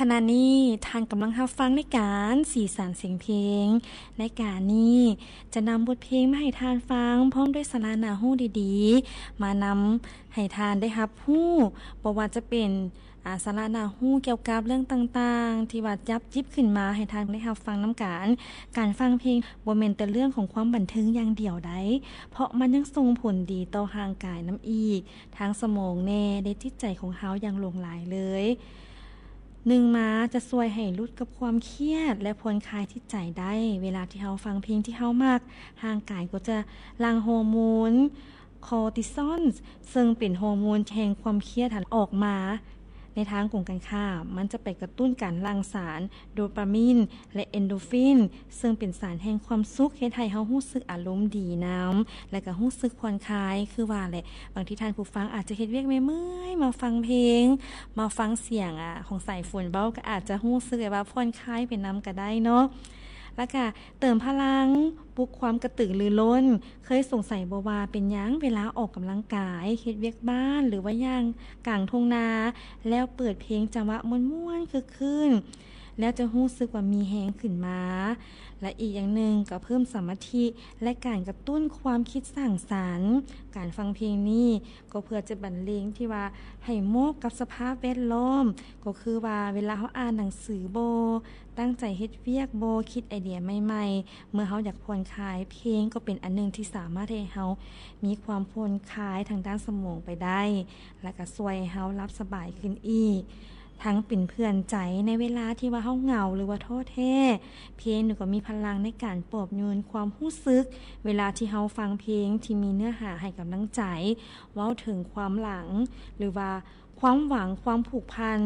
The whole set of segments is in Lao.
ຂະນະນີ້ທ່ານກຳລັງຮັບຟັງລາຍການສີສັນສຽງເພງ. ລາຍການນີ້ຈະນຳບົດເພງມາໃຫ້ທ່ານຟັງ ພ້ອມດ້ວຍສາລະໜ້າຮູ້ດີໆ ມານຳໃຫ້ທ່ານໄດ້ຮັບຮູ້, ບໍ່ວ່າຈະເປັນ ອາ ສາລະໜ້າຮູ້ກ່ຽວກັບເລື່ອງຕ່າງໆ ທີ່ວ່າຈັບຈິບຂຶ້ນມາໃຫ້ທ່ານໄດ້ຮັບຟັງນຳກັນ. ການຟັງເພງບໍ່ແມ່ນແຕ່ເລື່ອງຂອງຄວາມບັນເທີງຢ່າງດຽວໃດ, ເພາະມັນຍັງສົ່ງຜົນດີຕໍ່ຮ່າງກາຍນຳອີກ, ທັງສະໝອງແດ່ ແລະ ຈິດໃຈຂອງເຮົາຢ່າງຫຼວງຫຼາຍເລີຍ. ໜຶ່ງມາຈະຊ່ວຍໃຫ້ຫຼຸດກັບຄວາມຄຽດ ແລະ ຜ່ອນຄາຍຈິດໃຈໄດ້. ເວລາທີ່ເຮົາຟັງເພງທີ່ເຮົາມັກ, ຮ່າງກາຍກໍຈະຫຼັ່ງຮໍໂມນຄໍຕິຊອນ ເຊິ່ງເປັນຮໍໂມນແຫ່ງຄວາມຄຽດຫັ້ນອອກມາ. ໃນທາງກົງກັນຂ້າມ, ມັນຈະໄປກະຕຸ້ນການຫຼັ່ງສານໂດປາມິນ ແລະ ເອັນໂດຟິນ ເຊິ່ງເປັນສານແຫ່ງຄວາມສຸກ, ເຮັດໃຫ້ເຮົາຮູ້ສຶກອາລົມດີນຳ ແລະ ກໍຮູ້ສຶກຜ່ອນຄາຍ. ຄືວ່າແຫຼະ, ບາງທີທ່ານຜູ້ຟັງອາດຈະເຮັດວຽກເມື່ອຍໆ ມາຟັງເພງ, ມາຟັງສຽງ ອາ ຂອງສາຍຝົນເວົ້າ ກໍອາດຈະຮູ້ສຶກແບບວ່າຜ່ອນຄາຍໄປນຳກໍໄດ້ເນາະ. ແລ້ວກະເຕີມພະລັງ, ປຸກຄວາມກະຕືລືລົ້ນ. ເຄີຍສົງໄສບໍ່ວ່າເປັນຫຍັງເວລາອອກກຳລັງກາຍ, ເຮັດວຽກບ້ານ ຫຼືວ່າຍ່າງກາງທົ່ງນາ ແລ້ວເປີດເພງຈັງຫວະມ່ວນໆ ຄຶກຄື້ນ ແລ້ວຈະຮູ້ສຶກວ່າມີແຮງຂຶ້ນມາ? ແລະ ອີກຢ່າງໜຶ່ງກໍເພີ່ມສະມາທິ ແລະ ການກະຕຸ້ນຄວາມຄິດສ້າງສັນ. ການຟັງເພງນີ້ ກໍເພື່ອຈະບັນເລງທີ່ວ່າໃຫ້ເໝາະກັບສະພາບແວດລ້ອມ, ກໍຄືວ່າເວລາເຮົາອ່ານໜັງສືບໍ, ຕັ້ງໃຈເຮັດວຽກບໍ, ຄິດໄອເດຍໃໝ່ໆ, ເມື່ອເຮົາຢາກຜ່ອນຄາຍ, ເພງກໍເປັນອັນໜຶ່ງທີ່ສາມາດເຮັດໃຫ້ເຮົາມີຄວາມຜ່ອນຄາຍທາງດ້ານສະໝອງໄປໄດ້, ແລະ ກໍຊ່ວຍໃຫ້ເຮົາຫຼັບສະບາຍຂຶ້ນອີກ. ທັງເປັນເພື່ອນໃຈໃນເວລາທີ່ວ່າເຮົາເຫງົາ ຫຼືວ່າທໍ້ແທ້, ເພງກໍມີພະລັງໃນການປອບໂຍນຄວາມຮູ້ສຶກ ເວລາທີ່ເຮົາຟັງເພງທີ່ມີເນື້ອຫາໃຫ້ກຳລັງໃຈ, ເວົ້າເຖິງຄວາມຫຼັງ ຫຼືວ່າຄວາມຫວັງ, ຄວາມຜູກພັນ,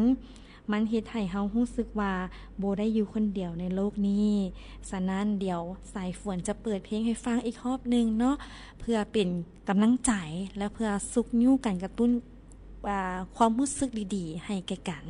ມັນເຮັດໃຫ້ເຮົາຮູ້ສຶກວ່າບໍ່ໄດ້ຢູ່ຄົນດຽວໃນໂລກນີ້. ສະນັ້ນ, ດຽວສາຍຝົນຈະເປີດເພງໃຫ້ຟັງອີກຮອບໜຶ່ງເນາະ, ເພື່ອເປັນກຳລັງໃຈ ແລະ ເພື່ອຊຸກຍູ້ການກະຕຸ້ນ ອາ ຄວາມຮູ້ສຶກດີໆໃຫ້ແກ່ກັນ.